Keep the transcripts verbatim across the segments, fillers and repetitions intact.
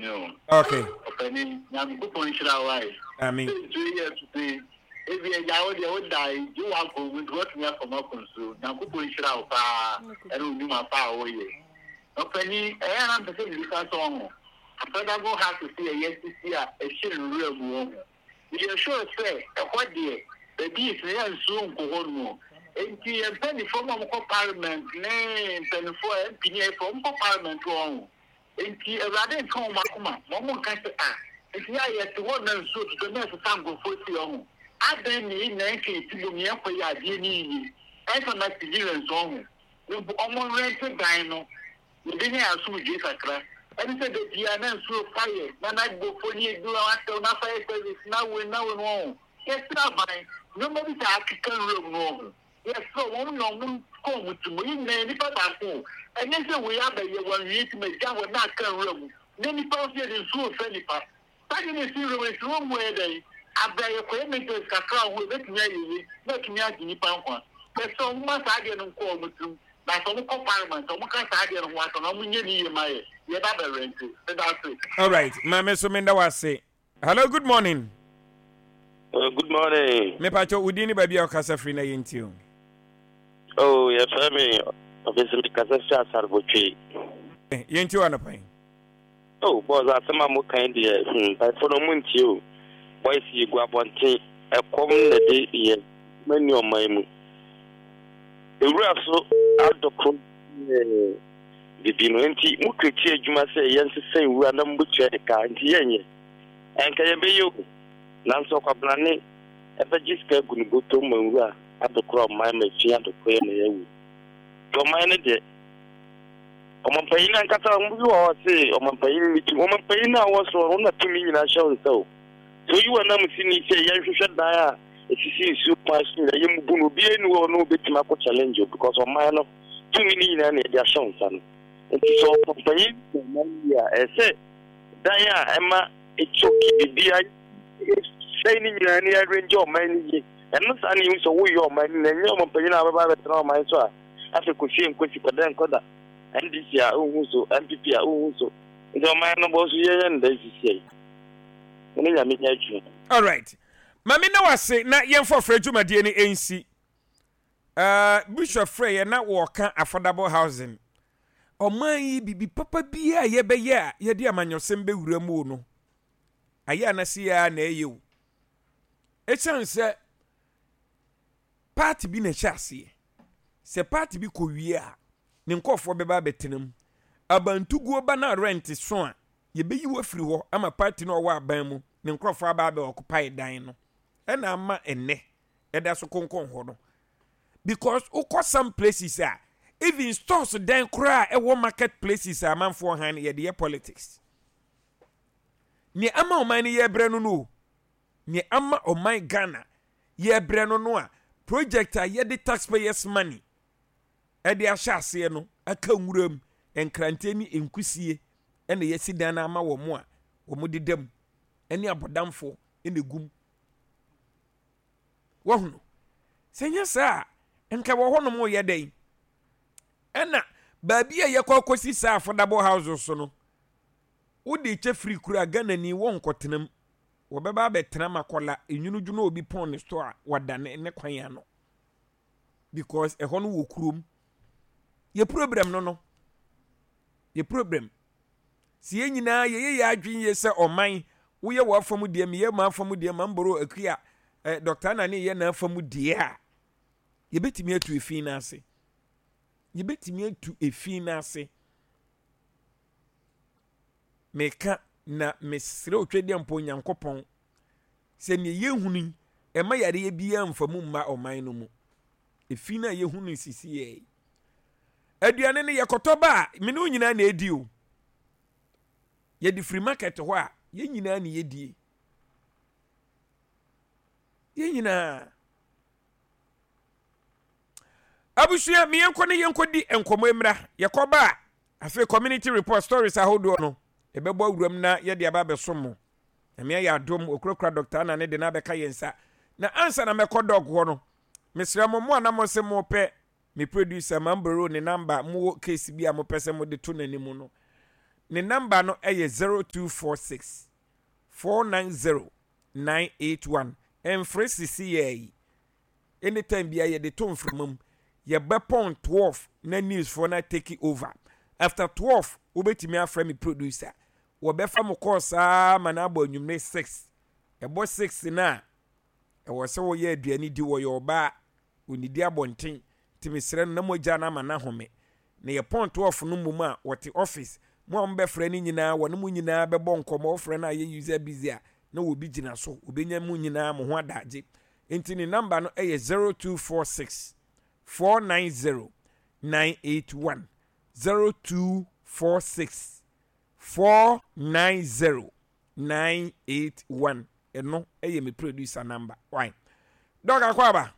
ni o. Okay. Ɔpanin, Nyankopɔn nhyira wo ae. Amen. Nsuo yi atutu ebi agya wo deɛ woda yi gye wakɔ mu nti watumi afam akɔ nsuo. Nyankopɔn nhyira wo paa ɛne wo nnwuma pa a woyɛ. Ɔpanin, ɛyɛ a na mpɛ sɛ mbisa sɛ ɔho. Affordable house si ɛyɛ sisi a ɛhyɛ nwura mu wɔ ho. Yɛ sure sɛ ɛhɔ deɛ baabi yi sɛ yɛ nsuo nkɔ hɔ nom o. Nti yɛn mpanimfoɔ mu a wɔkɔ parliament ne mpanimfoɔ a M P ne ɛfɔ wɔkɔ parliament wɔ ho. Nti Awurade nka wɔn akoma ma wɔn nka sɛ a nti yɛ a yɛte hɔ na nsuo tutɔ na ɛsesa nkurɔfoɔ si hɔ. Adan ne yi na nka eti bom yɛn kɔ yɛ adeɛ ne yie. Ɛnfa na civilians wɔ ho. Mpo wɔn rent dan no yɛde nyɛ asomdwe kakra. Ɛne sɛ beebi a na nsuo fa yɛ na n'agbofo ne edu atɛw na fire service na wei na wei no wɔ ho. Yɛsrɛ aban nneɛma bi sɛ akeka nwura mu no wɔ ho. Yɛsrɛ wɔn na wɔn kɔn mu ti mu yi nyinaa nipa baako o. Ɛnyɛ sɛ wei abɛyɛ wɔn wie ti ma gya hɔ na aka nwura mu. Na nipa nso yɛde nsuo fɛ nipa. Saa de na esi nwura mu esi wɔn mu yɛ dɛ abira yɛ kɔyɛ maintenance kakra ho ebetumi ayɛ yie na etumi agye nipa nkwa. Yɛsrɛ wɔn ma saa adeɛ no nkɔ wɔn tirim. Na sɛ wɔn kɔ parliament wɔn ka saa adeɛ no ho asɛm na wɔn nyɛ ne yie ma yɛ yɛba bɛ rent. Ɛda ase. All right, maame so menda wase. Hello, good morning. Uh, good morning. Mepacho wo din ne baabi a wokasa firi na yɛntie o. Oh, yɛfrɛ me ɔfisi mi kasa fi Asarbotwe. Yɛntie o anɔpa yi. Oh, boss, asɛm a mokan deɛ, hmm, mpaefoɔ no ɔmo ntie o. Boys yi gu abɔnten, ɛkɔm na de yɛ mani ɔman mu. Ewura so adɔko ɛɛ bibi no nti mo kireti adwuma sɛ yɛnsesa nwura na mo bɛtua yɛ ka nti yɛnyɛ. Ɛnka yɛbɛyɛ o. Nanso ɔkwabrane ɛbɛgye sika agu ne bɔtɔ ma nwura adɔkora ɔman ma efi adɔkora yɛ na yɛawu. Nti ɔman no deɛ, ɔmampanyin ankasa ɔmo bi wɔ hɔ se ɔmampanyin ne tumi, ɔmampanyin a ɔwɔ soro ɔno na tumi nyinaa hyɛ wo nsa o. Sɛ oyi wɔ nam si ni sɛ yɛnhwehwɛ dan a esisi nsuo kwan so nyinaa yɛmmubu no, obiara ni hɔ no obetumi akɔ challenge o because ɔman no tumi ne nyinaa na yɛde ahyɛ wo nsa no. Nti sɛ ɔmampanyin yɛ ɔman yie a, ɛsɛ dan a ɛma etsoki biribiara sɛe ne nyinaa ne arrange ɔman no yie. Ɛno saa ne yɛhu sɛ woyɛ ɔman no na ɛnyɛ ɔmampanyin a wobɛba abɛtena ɔman so a afei kɔsie nkosi kɔda nkɔda N D C a wohu so, N P P a wohu so. Nti ɔman no bɔ so yɛyɛ no da sisi yi ne Nyame nyɛ adwuma. All right. Maame na wase na yɛmfa ɔfrɛ dwumadie no ɛnsi. Uh, Bishop frɛ yɛ na wɔka affordable housing. Ɔman yi bibi papa biara a yɛbɛyɛ a yɛde amanyɔsɛm bɛwura mu o no. Ayɛ anase yɛ a na ɛyɛ o. Ɛsiane sɛ party bi na ɛhyɛ aseɛ. Sɛ party bi kɔ wie a, ne nkɔɔfoɔ bɛba abɛtena mu. Abantuguo ba na rent so a, yɛbɛyi wo afiri hɔ ama party no a ɔwɔ aban mu ne nkurɔfoɔ aba abɛ occupy dan no. Ɛna ama ɛnnɛ ɛda so konkɔn hɔ no. Because wokɔ some places a, even stores dan koraa a ɛwɔ market places a amanfoɔ han no yɛde yɛ politics. Nea ama ɔman no yɛbrɛ no no o. Nea ama ɔman Ghana yɛbrɛ no no a, project a yɛde taxpayers money ɛde ahyɛ aseɛ no aka nwura mu nkranteɛ ne nkusie ɛna yɛsi dan no ama wɔn a wɔn deda mu ɛne abɔdamfoɔ ɛna egum. Wɔhono sɛ nyɛ saa a nka wɔ hɔnom yɛ dɛn. Ɛna baabi a yɛkɔ akɔsi saa affordable house so no, wode kyɛ firi kura Ghana ni wɔn nkɔtena mu, wɔbɛba abɛtena Makɔla enwunudwunu obi pɔn ne store a wada ne ne kwan ano because ɛhɔ no wɔ kurom. Yɛ problem no no yɛ problem si yɛn nyinaa yɛyɛ yɛ adwene yie sɛ ɔman woyɛ wɔ afa mu deɛ, meyɛ ma afa mu deɛ, ma mboro akua ɛ Doctor Nane yɛ n'afa mu deɛ a, yɛbɛtumi atu efi n'ase, yɛbɛtumi atu efi n'ase. Meka na mesrɛ Otwadeɛ mpo Nyankopɔn sɛ nea yɛhunu yi ɛma yareɛ biara mfa mu mma ɔman no mu. Efi no a yɛhunu sisi yɛ yi, aduane no yɛkɔtɔ ba a, me ne wo nyinaa na edi o. Yɛde firi market hɔ a, yɛn nyinaa na yɛdie, yɛn nyinaa. Abusua, me yɛnkɔ ne yɛnkɔ di nkɔmmɔ mmra. Yɛkɔba a, afei community report stories ahodoɔ no yɛbɛbɔ awuram na yɛde aba abɛsom mo. Nyame ayɛ adom, okurakura Doctor Ana ne de no abɛka yɛn nsa. Na ansa na mɛkɔ doc hɔ no, mesrɛ mo, mo a na mo sɛ mopɛ me producer Mamboro ne number, mowɔ case bi a mopɛ sɛ mode to n'anim no. Ne number no ɛyɛ zero two four six four nine zero nine eight one. Ɛmfrɛ sisi yɛ yi, anytime bia yɛde to mframa mu, yɛbɛpɔn twelve na news foɔ na take over. After twelve, wobɛtumi afrɛ me producer, wɔbɛfa mo kɔɔ saa ma no abɔ anwummere six. Ɛbɔ six na ɛwɔ sɛ wɔyɛ aduane di. Wɔyɛ ɔbaa, onidi abɔnten, nti mesrɛ no na mogya no ama no ahome. Na yɛpɔn twelve no mmom a, wɔte office mo a mobɛfrɛ no nyinaa, wɔne mo nyinaa bɛbɔ nkɔmmɔ. Wɔfrɛ no a yɛ user busy a, na wɔbi gyina so, wɔbɛnya mu nyinaa mo ho adagye. Nti ne number no ɛyɛ zero two four six four nine zero nine eight one, zero two four six four nine zero nine eight one. Ɛno ɛyɛ me producer number. Why Doc akɔ aba?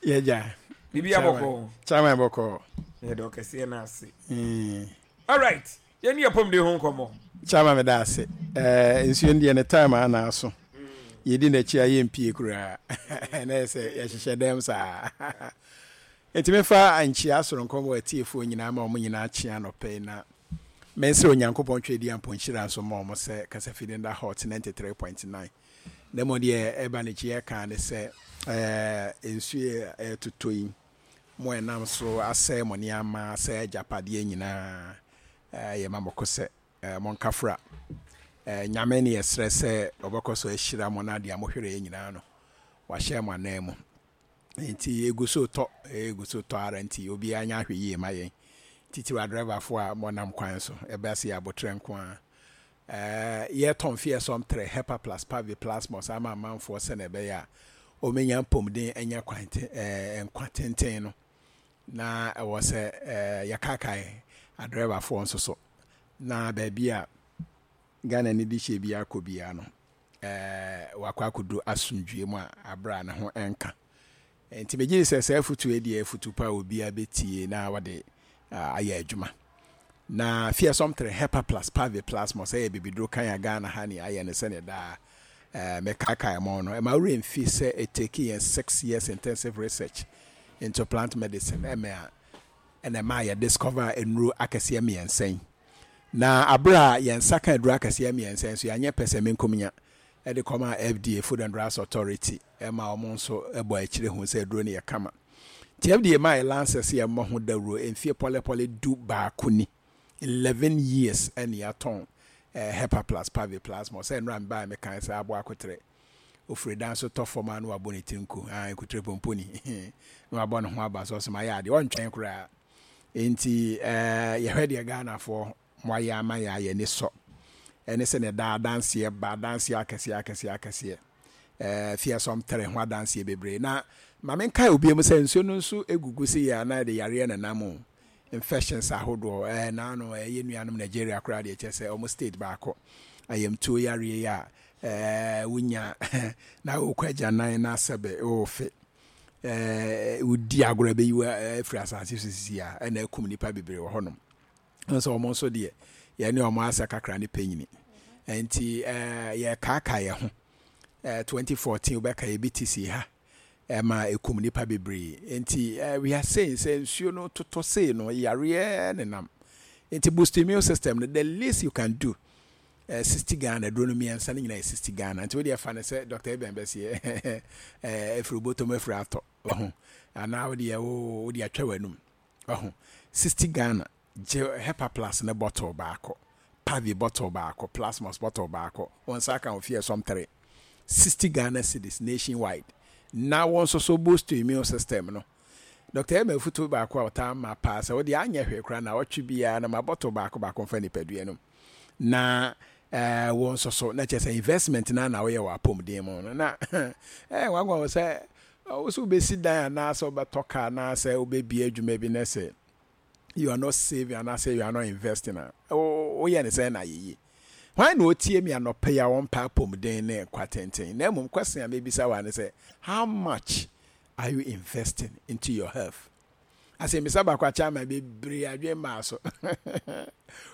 Yɛgya. Biribi abɔkɔ? Chairman, bɔkɔ. Yɛde ɔkɛseɛ no ase. Mm. Alright, yɛne yɛ pɔmde ho nkɔmmɔ. Chairman, meda ase. Eh, nsuo no deɛ, ne time a na aso, yɛdi n'akyi a yɛmpie koraa na yɛ sɛ yɛhyehyɛ dɛm saa. Nti mefa nkyia soronko wɔ atiefoɔ nyinaa ma ɔmo nyinaa kyea nɔpɛ yi, na mensrɛ Onyankopɔn twɛdi ampɔnhyira nso ma ɔmo sɛ kasafidi nda Hot ninety-three point nine. Na mmom deɛ ɛba n'akyi yɛka ne sɛ eh, nsuo a ɛtotɔ yi mo ɛnam so asɛe mo nneɛma, asɛe agyapadeɛ nyinaa, eh, yɛma mo ko sɛ eh, monkafra eh, Nyame ne yɛsrɛ sɛ ɔbɛkɔ so ahyira mo no adeɛ a mohwerɛ nyinaa no wahyɛ mo anan mu. Nti ɛgu so tɔ, ɛgu so tɔ ara, nti obiara nya ahwɛ yie ma yɛn, titiri adrɛvafoɔ a mɔnam kwan so. Ɛbɛ se yɛ abotrɛ nko a eh, yɛtɔn Fearsome three, Hepa Plus, Pavi Plasmos ama amanfoɔ sɛne ɛbɛyɛ a ɔmɛnya mpɔmuden, anya kwan te, eh, nkwa tenten no. Na ɛwɔ sɛ eh, yɛkaakae adrɛvafoɔ nso so na baabi a Ghana ni de hyɛ bi akɔ biara no, eh, wakɔ akɔdu asomdwie mu a aberɛ a ne ho ɛnka. Nti megye di sɛ saa afutuo yi deɛ, afutu pa a obiara bɛtie na wɔde ah, ayɛ adwuma. Na Fearsome three, Hepa Plus, Pavi Plasmos ɛyɛ bibiduro kan a Ghana ha ne ayɛ no sɛneɛ daa eh, mekaakae mo no. Ɛma werɛ mfi sɛ ɛtake yɛn six years intensive research into plant medicine ɛmɛ a ɛna ɛma yɛ discover nnuro akɛseɛ mmiɛnsa yi. Na abere a yɛn nsa ka aduro akɛseɛ mmiɛnsa yi nso, yɛanyɛ pɛ sɛ menkomnya ɛde kɔma F D A, Food and Drugs Authority, ɛma wɔn nso ɛbɔ akyire ho sɛ aduro no yɛ kama. Nti F D A maa yɛ license yɛ mmɔ ho dawuro mfie pɔlɛpɔlɛ du baako ni, eleven years ɛne yɛatɔn eh, Hepa Plus, Pavi Plasma. Sɛ nnora mbaa mekan sɛ aboa akotrɛ ofiri dan so tɔ fam a, na wabɔ ne tiri nku ah, nkutere pomponi na wabɔ ne ho aba so, ɔsɛ mayɛ adeɛ, ɔntwɛn koraa. Nti eh, yɛhwɛ deɛ Ghanafoɔ mo ayɛ ama yɛ a, yɛni sɔ. Ɛne sɛ ne da adanseɛ ba, adanseɛ akɛseɛ akɛseɛ akɛseɛ, ɛɛ Fearsome three ho adanseɛ bebree. Na maame nkae obi mu sɛ nsuo no nso egugu si yɛ anaa yɛde yareɛ nenam o, infections ahodoɔ ɛɛ naano ɛyɛ nuanom Nigeria koraa deɛ, kyerɛ sɛ ɔmo state baako ayamtuo yareɛ yi a ɛɛ wonya na wokɔ agyanan na asɛbɛ wɔɔfe ɛɛ wodi agorɔ bɛyi wo afiri asase so sisi a, ɛna akum nipa bebree wɔ hɔnom nso. Ɔmo nso deɛ, yɛne ɔmo asɛ kakra ne panyini. Nti ɛɛ yɛkaaka yɛ ho ɛɛ twenty fourteen wobɛka yɛbi ti si ha ɛma ekum nipa bebree. Nti ɛɛ we are saying sɛ nsuo no totɔ sei no, yareɛ nenam. Nti boost immune system no, the least you can do, ɛɛ sixty Ghana. Duro no mmiɛnsa no nyinaa yɛ sixty Ghana. Nti wodeɛ fa ne sɛ Doctor Eben bɛseɛ ɛɛ efiri bɔtɔm efiri atɔ ɔho anaa wodeɛ wo wode atwa w'anum ɔho. Sixty Ghana, gye Hepa Plus ne bottle baako, Pavi bottle baako, Plasmos bottle baako. Wɔn nsa aka wɔ Fearsome three, sixty Ghana cedis nationwide. Na wɔn nso so boost to immune system no. Doctor Emma afutuo baako a ɔtaa ma paa sɛ wɔde anyɛ hwee koraa na ɔtwe biara na ma bottle baako baako mfa nipadua no na ɛɛ wɔn nso so na kyerɛ sɛ investment na na wɔyɛ wɔ apɔmuden mu no. Na ɛɛ nwanwa wɔ sɛ wɔsɛ wobɛsi dan anaasɛ wobɛtɔ car anaasɛ wobɛbie adwuma bi na sɛ you are not saving anaasɛ you are not investing a, woyɛ ne sɛn na yɛyie? Hwan na ɔtie mi anɔpɛ yi a wɔmpa apɔmuden ne nkwa tenten? Na mmom question a mebisa wa ne sɛ, how much are you investing into your health? Asɛmmisa baako akyɛ ama bebree adwen maa so.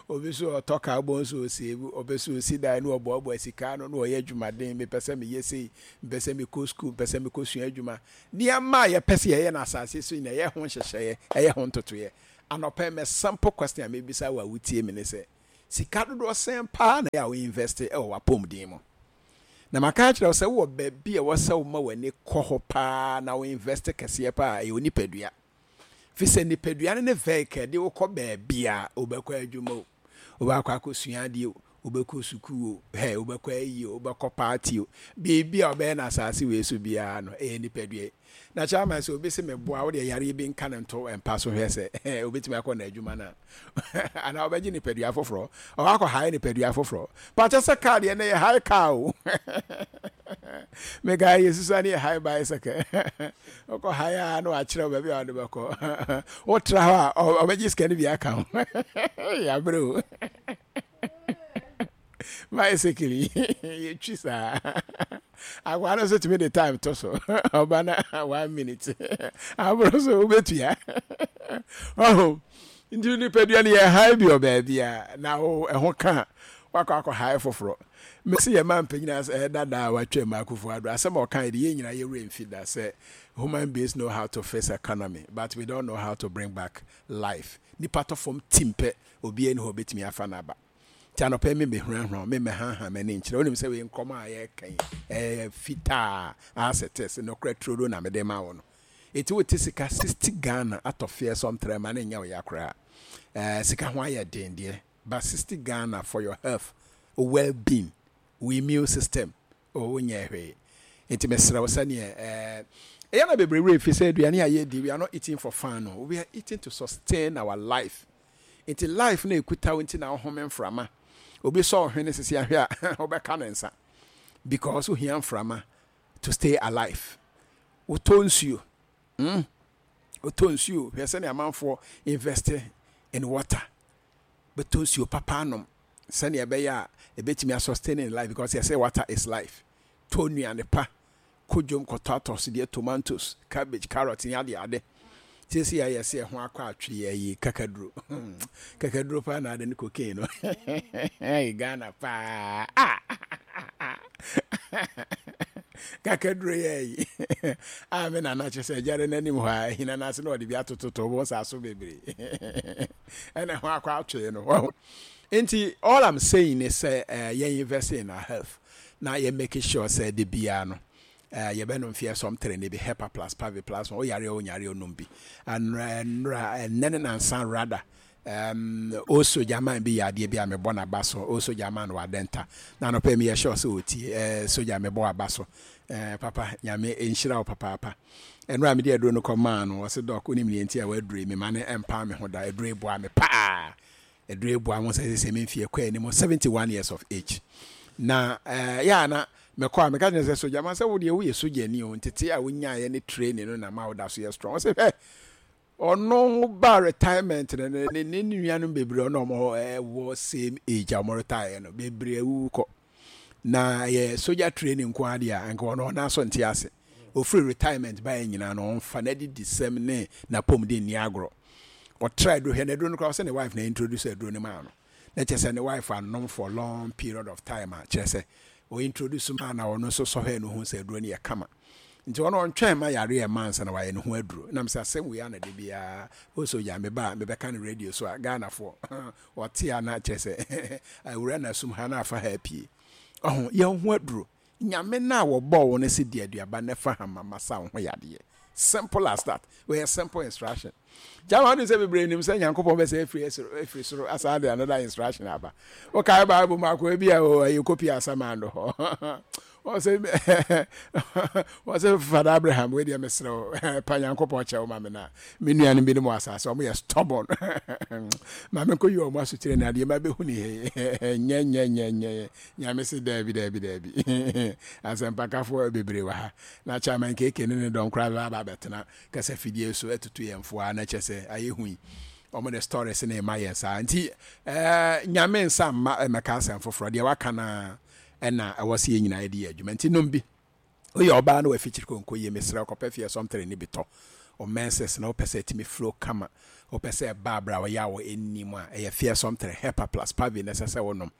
Obi so ɔtɔ kaa bɔ nso, ɔsave, ɔpɛ so ɔsi dan na ɔboaboa sika no na ɔyɛ adwumaden. Mepɛ sɛ meyɛ sei, mepɛ sɛ mekɔ sukuu, mepɛ sɛ mekɔ sua adwuma. Nneɛma a yɛpɛ sɛ yɛyɛ no asase so nyina, ɛyɛ ho nhyehyɛeɛ, ɛyɛ ho ntotoeɛ. Anɔpɛ mɛ simple question a mebisa wɔ a wotie me ne sɛ, Sika dodoɔ sɛn paa na ɛyɛ a wo invest wɔ w'apɔmuden mu? Na maka akyerɛ wo sɛ wowɔ baabi a ɛwɔ sɛ woma w'ani kɔ hɔ paa na wo invest kɛseɛ paa, ɛyɛ wo nipadua. Fi sɛ nipadua no ne vehicle de wokɔ baabi a wobɛkɔ adwuma o, wobɛakɔ akɔsua adeɛ o, wobɛkɔ sukuu o, hɛ, wobɛkɔ ayi o, wobɛkɔ party o, biribi a wobɛyɛ no asase wei so biara no, ɛyɛ nipadua yi. Na chairman, sɛ obi se meboa wo deɛ, yareɛ bi nka no nto mpa so, hwɛ sɛ obɛtumi akɔ n'adwuma no a, anaa wobɛgye nipadua foforɔ, ɔwɔ akɔ hae nipadua foforɔ pakyɛ sɛ car deɛ, ɛnɛ yɛ hae car o. Meka yɛ susua ne yɛ hae bicycle, wokɔ hae a na wakyerɛ wo baabi a wɔde bɛkɔ. Wotra hɔ a, ɔbɛgye sika no bi aka ho. Yɛabrɛ o, bicycle yi yɛtwi saa. Akwaa no nso tumi de time to so, ɔba na one minute aboro so, wobɛtua ɔho. Nti nipadua no yɛ hae bi wɔ baabi a na wo ɛho ka wakɔ akɔ hae foforɔ. Mesi yɛ ma mpanyin ɛyɛ dada a watwa mu, Akufo Addo, asɛm a ɔka yi de, yɛn nyinaa yɛwura mfi da sɛ human beings know how to fix economy, but we don't know how to bring back life. Nipa tɔ fam tim pɛ, obiara ni hɔ obetumi afa n'aba. Nti anɔpɛ me mehurahura me mɛhaha m'ani nkyerɛ wonim sɛ wei nkɔmɔ a yɛreka yi ɛyɛ fitaa as it is, nokorɛ turodo na mede ma wo no. Eti wote sika sixty Ghana atɔ fearsome trɛ ma ne nyɛ wo ya koraa. ɛɛ sika ho ayɛ den deɛ, but sixty Ghana for your health, well being, wo immune system o, wonyɛ hwee. Nti mesrɛ wo, sɛneɛ ɛɛ ɛyɛ na bebree werɛ fi sɛ aduane a yɛdi, we are not eating for fun no, we are eating to sustain our life. Nti life na ekuta wo, nti na wohome mframa. Obi sɔ ɔhwene sisi ahwɛ a, wobɛka ne nsa because wohia mframa to stay alive. Wotɔ nsuo, mm wotɔ nsuo. Hwɛ sɛnea amanfoɔ invest in water, bɛtɔ nsuo papa anom sɛnea ɛbɛyɛ a ɛbɛtumi asustain in life, because yɛsɛ water is life. Tɔ nnuane pa, kɔ dwom kɔtɔ atɔsodeɛ, tomatoes, cabbage, carrot ne ade ade. Siesie a yɛsɛ ɛho akɔ atwe yɛ yi kakaduro, kakaduro paa na ade ne cocaine no. Ghana paa, ah, kakaduro yɛ yi a, me nana kyerɛ sɛ agyare n'anim hɔ a ahina no ase na ɔde bi atototo wɔ saa so bebree ɛna ɛho akɔ atwe no. Nti all I'm saying is sɛ uh, yɛn invest in our health na yɛn make sure sɛ de biara no uh, yɛbɛnom fearsome three ne bi, Hepa Plus, Pavi Plus. Woyare a wonyare, onom bi. Anora, nnora, ɛnɛ ne nansa rather, um, o soja man bi yɛ adeɛ bi a mebɔ n'aba so. O soja man wɔ Adɛnta na anɔpɛ mi yɛ sure sɛ ɔtie. uh, soja, mebɔ aba so. uh, papa Nyame nhyira wo papaapa. Ɛnora mede aduro no kɔmaa no, ɔse, "Doc, wonim neɛ nti a waduro yi mema ne ɛmpa me ho da? Aduro yi boa me paa, aduro yi boa mo sɛ sɛ memfie kɔ anim seventy-one years of age na uh, yɛ a na mɛkɔ a meka kyerɛ sɛ soja ma sɛ wodeɛ woyɛ sogyani o, ntete a wonyaeɛ ne training no na ma woda so yɛ strong." Ɔsɛ hwɛ, ɔno ba retirement no, ne ne ne nuanom bebree ɔno ɔmo ɛwɔ same age a ɔmo retire no bebree awuwu kɔ na yɛ soja training nko adeɛ a nka ɔno ɔna so nte ase. Ofiri retirement baeɛ nyinaa no, ɔmfa n'adidi sɛm ne n'apɔmuden nni agorɔ. Ɔtra aduro hwɛ n'aduro no koraa, ɔsɛ ne wife na introduce aduro no maa no, na kyerɛ sɛ ne wife anom for long period of time a kyerɛ sɛ ɔ introduce maa na ɔno nso sɔhwɛ no ho sɛ aduro no yɛ kama. Nti ɔno ɔntwɛn ma yare ɛma ansa na wayɛ ne ho aduro. Nam sɛ asɛm wei ana de biara ɔsɛ ogya me ba a mebɛka no radio so a, Ghanafoɔ ɔte a, na kyerɛ sɛ awura na asum ha na afa ha apue. Ɔho yɛn ho aduro, Nyame no a wɔbɔɔ wo no sɛ di aduaba na fa hama masa wo ho yadeɛ. Simple as that. Wɔyɛ simple instruction. Gyama wode sɛ bebree nim sɛ Nyankopɔn bɛsɛ afiri afiri soro asan de another instruction aba. Wokae Bible mu akoa bi a ɛyɛ copy asamando hɔ, wɔsɛ wɔsɛ Father Abraham, wei deɛ mesrɛ wo, pa Nyankopɔn kyɛ wo ma me na me nuanom bi no mu asase ɔmo yɛ stubborn, ma menkɔyi ɔmo asotire no adeɛ ma bɛhu ne nyɛ nyɛ nyɛ nyɛ. Nyame se daabi, daabi, daabi. Asɛmpakafoɔ bebree wɔ ha na chairman keke ne ne dɔm koraa bɛba aba abɛtena kasa fidie so atutu yɛn foa na kyɛ sɛ ayɛ hu yi, ɔmo de stories ne ma yɛn saa. Nti ɛɛ Nyame nsa mma ɛmɛka asɛm foforɔ deɛ waka na ɛna ɛwɔ sɛ yɛn nyinaa yɛde yɛ adwuma. Nti nom bi. Woyɛ ɔbaa na wafikyiri konko yie, mesrɛ, kɔpɛ fearsome three ne bi tɔ. O menses na wopɛ sɛ ɛtumi flow kama, wopɛ sɛ ɛba abere a ɔyɛ a wɔ anim a, ɛyɛ fearsome three, Hepa Plus, Pavi na ɛsɛ sɛ wonom.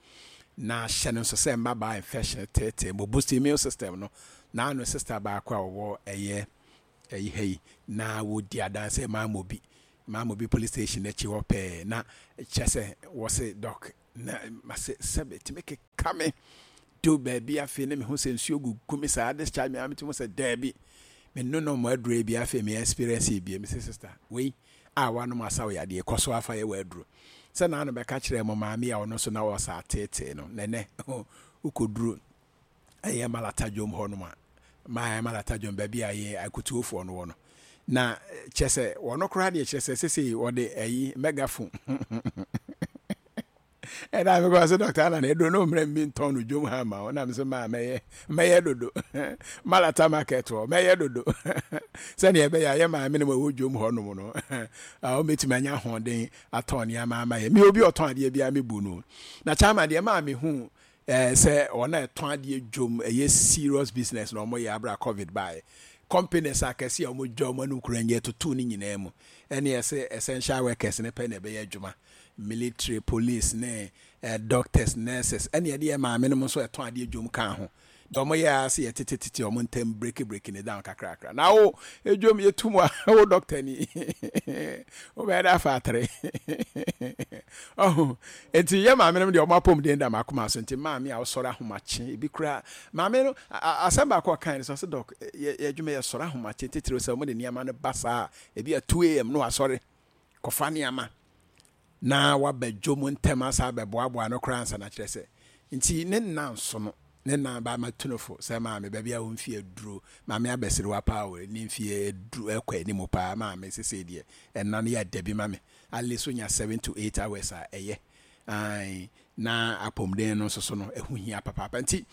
Na hyɛ no nso sɛ mmabaa infection teetee mo, boost immune system no. Na ano sister baako a ɔwɔ ɛyɛ ɛyi ha yi na wɔdi adanse Maamobi, Maamobi police station akyi hɔ pɛɛ, na kyerɛ sɛ wɔse, "Doc, Na masɛ sɛbe tumi keka me do baabi. Afei ne mehu sɛ nsuo gugu me saa, discharge me a, metumi sɛ daabi, menonom aduro bi. Afei me experience bi, me sɛ, "Sister, wei a wanom asa wo yadeɛ, kɔ so afa yɛ wɔ aduro." Sɛ naa no bɛka kyerɛ mo maame a ɔno nso na ɔsa ateetee no nɛnɛ wokɔduro ɛyɛ Malata dwom hɔ nom a, maa Malata dwom baabi a yɛ akutuofoɔ no wɔ no, na kyɛ sɛ wɔno koraa deɛ, kyerɛ sɛ sesei wɔde ayi megaphone ɛna mekɔ sɛ, "Doctor Ana, na ɛduro no mmerɛ mi ntɔn no dwom ha ma wo." Na mesɛ, "Maa mɛyɛ mɛyɛ dodo Malata market hɔ, mɛyɛ dodo sɛneɛ ɛbɛyɛ a yɛ maame no ma ɛwɔ dwom hɔ nom no wɔbɛtumi anya ahoɔden atɔn nneɛma ama yɛ." Me obi ɔtɔn adeɛ biara mebu no na kyama deɛ maa mehu ɛɛ sɛ wɔn a ɛtɔn adeɛ dwom ɛyɛ serious business na wɔn yɛ. Abira COVID baeɛ, companies akɛse a wɔn dwa wɔn anum kura nyɛ tutu ne nyinaa mu, ɛne ɛsɛ essential workers ne pɛ na ɛbɛyɛ adwuma, military, police ne eh, doctors, nurses, ɛne ɛde yɛ maame no nso ɛtɔn adeɛ dwom ka ho deɛ, wɔn yɛ ase yɛ tetetete wɔn ntɛm break break ne down kakrakra. Na wo edwom yɛtu mu a, wo doctor ni wobɛyɛ dɛ afa atere ɔho. Nti yɛ maame no deɛ, ɔmo apɔmuden da makoma so. Nti maame a ɔsɔre ahomakye, ebi kura maame no asɛm baako a ɔkan no sɛ, ɔsɛ, "Doc, yɛ yɛ adwuma yɛ sɔre ahomakye titiri sɛ ɔmo de nneɛma no ba saa, ebi a two a m no wasɔre kɔfa nneɛma na waba dwom ntɛm asa abɛboaboa no koraa ansa." Na kyerɛ sɛ nti ne nna nso no ne nan ba ma tunofo sɛ maame baabi a wɔmfie aduro, maame abɛserewa paa o, ne mfie aduru ɛkɔ anim paa. Maame sese deɛ, ɛna no yɛ adabi ma me, at least wonya seven to eight hours a ɛyɛ ae, na apɔmuden no nso so no ɛho hia papaapa. Nti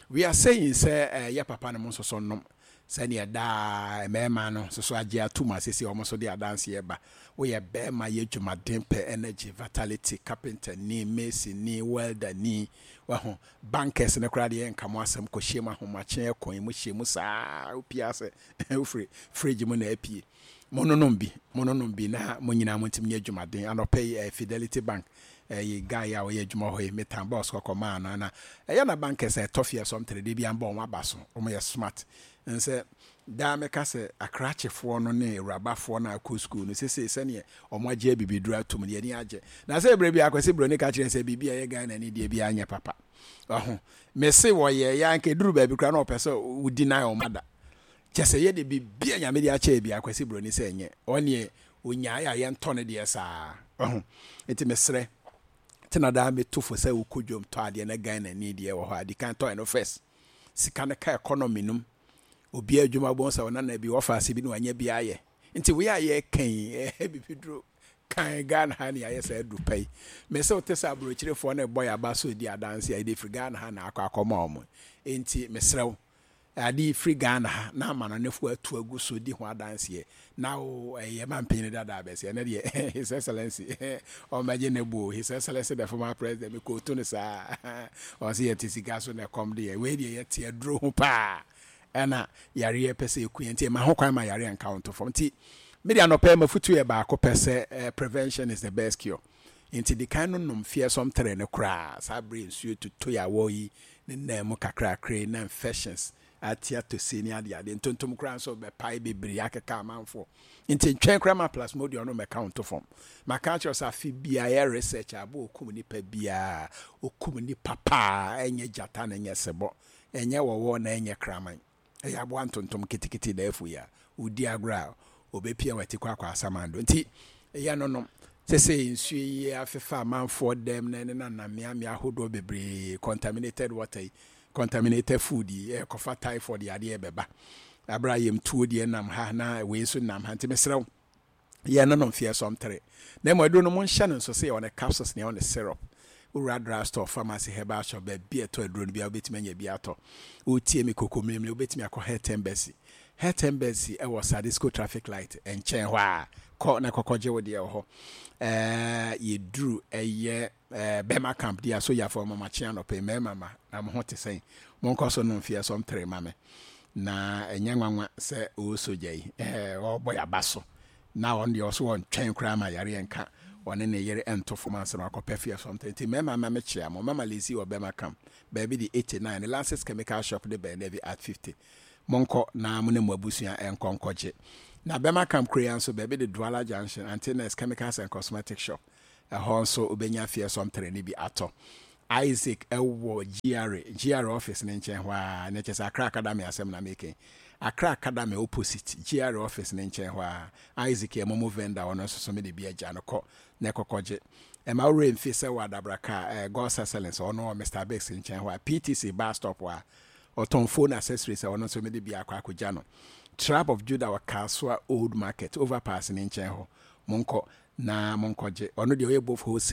we are saying sɛ ɛyɛ papa no mo nso so nom sɛdeɛ daa mmarima no nso so agye ato mu asese wɔn nso de adanseɛ ba. Woyɛ bɛrima, yɛ dwumaden, pɛ energy, vitality, carpenter ni, mason ni, welder ni, wahu bankers ne koraa deɛ, nka mo asɛm kɔhyia mu ahomakye ɛkɔn mu hyia mu saa, wopia sɛ wofiri fridge mu na apie. Mononom bi, mononom bi na mo nyinaa mo ntumi nyɛ dwumaden. Anɔpɛ yi eh, Fidelity Bank ɛyɛ guy a ɔyɛ adwuma hɔ yi, metan boss kɔkɔ maa no na ɛyɛ na bankers a ɛtɔ fie sɔm tere de bi ambɔ wɔn aba so, wɔn yɛ smart. Nsɛ daa mɛka sɛ akrakyefoɔ no ne awurabafoɔ no akɔ school no sese sɛneɛ wɔn agye abibiduro atum no, yɛni agye. Na sɛ ebere bi Akwasi Buroni ka kyerɛ sɛ biribi a ɛyɛ Ghana ni deɛ bi anyɛ papa ɔho mese wɔyɛ yɛ anka eduru baabi koraa na ɔpɛ sɛ wodi nan wɔn ada kyɛ sɛ yɛde biribi a Nyame de akyɛ bi. Akwasi Buroni sɛ ɛnyɛ ɔneɛ onyae a yɛntɔ no deɛ saa ɔho. Nti mesrɛ tena daa meto fo sɛ wokɔ dwom tɔ adeɛ na Ghana ni deɛ wɔ hɔ a, di kan tɔ ɛno first. Sika no ka economy nom, obi adwuma bɔn sɛ ɔnana bi wɔfa ase bi na wanya bi ayɛ. Nti wei a yɛka yi, ɛyɛ bibi duro kan Ghana ha ne ayɛ sɛ aduru pa yi. Mɛ wote sɛ aburokyerefoɔ no ɛbɔ yɛ aba so di adanse a yɛde firi Ghana ha na akɔ akɔma wɔn. Nti mesrɛ wo, ade firi Ghana ha na ama no nefoɔ atu agu so di ho adanseɛ na wo ɛyɛ ma mpanyin dada abɛsɛ ɛnɛ deɛ, His Excellency ɔmmɛgye ne bo. His Excellency the former president, mekɔɔtu no saa, ɔsɛ yɛte sika so na ɛkɔm deɛ, wei deɛ yɛte aduro ho paa ɛna yareɛ pɛ sɛ ɛku yɛn. Nti ɛma ho kwan ma yareɛ nka wo nto fam. Nti mede anɔpɛ mafutu yɛ baako pɛ sɛ eh, prevention is the best cure. Nti di kan no nom fearsome tere no koraa saa bere nsuo tuto yɛ awɔ yi ne nan mu kakrakra na infections ate atɔsie ne adeade ntontom koraa nso bɛpae bebree akeka amanfoɔ. Nti ntwɛn koraa ma plasmodium no mɛka wo nto fam. Maka kyerɛ sɛ afe biara yɛ research abo okum nipa biara, okum nipa paa, ɛnyɛ gyata na ɛnyɛ sebɔ, ɛnyɛ wɔwɔ na ɛnyɛ kraman, ɛyɛ aboa ntontom ketekete da afu yi a wodi agorɔ a obɛpia wati kɔ akɔ asamando. Nti ɛyɛ no nom sɛ sɛ nsuo yi afefa amanfoɔ dɛm na ɛne nanam mmeammea ahodoɔ bebree, contaminated water yi, contaminated food yi, ɛkɔfa typhoid yadeɛ bɛba abere a yɛmtuo deɛ nam ha na wei nso nam ha. Nti mesrɛ wo, yɛn no nom fearsome tere na mmom aduro no monhyɛ no nso sɛ yɛwɔ ne capsules ne yɛwɔ ne syrup. Wowura drug store, pharmacy, herbal shop, baabi a ɛtɔ aduro no bia wobɛtumi anya bi atɔ. Wotie me koko mmirimiri, wobɛtumi akɔ Health Embassy. Health Embassy ɛwɔ Sadisco traffic light nkyɛn hɔ a, kɔ na kɔkɔgye wo deɛ wɔ hɔ. Ɛɛ yɛduru ɛyɛ ɛɛ bɛrima camp deɛ asogyafoɔ mɔmakye anɔpɛ mmarima ma na mo ho te sɛn, monkɔ so nom fearsome tere ma me. Na ɛnyɛ nwanwa sɛ ɔwɔ sogya yi ɛɛ ɔrebɔ yaba so na ɔno deɛ ɔso wɔntwɛn koraa ma yareɛ nka ɔne ne yere nto fam ansa na wakɔpɛ fearsome tere. Nti mmarima ma mekyea mo. Mama Lesi wɔ bɛrima camp baabi de eighty-nine ne Lances Chemical Shop de bɛn Navy at fifty. Monkɔ na mo ne mo abusua nkɔ nkɔgye. Na bɛrima camp kuro ya nso baabi de Douala Junction, Antennas Chemicals and Cosmetic Shop. Ɛhɔ nso wobɛnya Fearsome three no bi atɔ. Isaac ɛwɔ G R A, G R A office ne nkyɛn hɔ a, na kyerɛ sɛ Accra Academy asɛm na meke. Accra Academy opposite G R A office ne nkyɛn hɔ a, Isaac yɛ momo vendor. Ɔno nso so mede bi agya no kɔ na ɛkɔkɔgye. Ɛma worɛ mfi sɛ wɔ Adabraka, eh, God's Excellence, ɔno wɔ Mister Biggs nkyɛn hɔ a, P T C bus stop hɔ a, ɔtɔn phone accessories a ɔno nso mede bi akɔ akɔgya no. Tribe of Judah wɔ Kasoa Old Market overpass ne nkyɛn hɔ. Monkɔ na monkɔgye. Ɔno deɛ, ɔyɛ both wholesale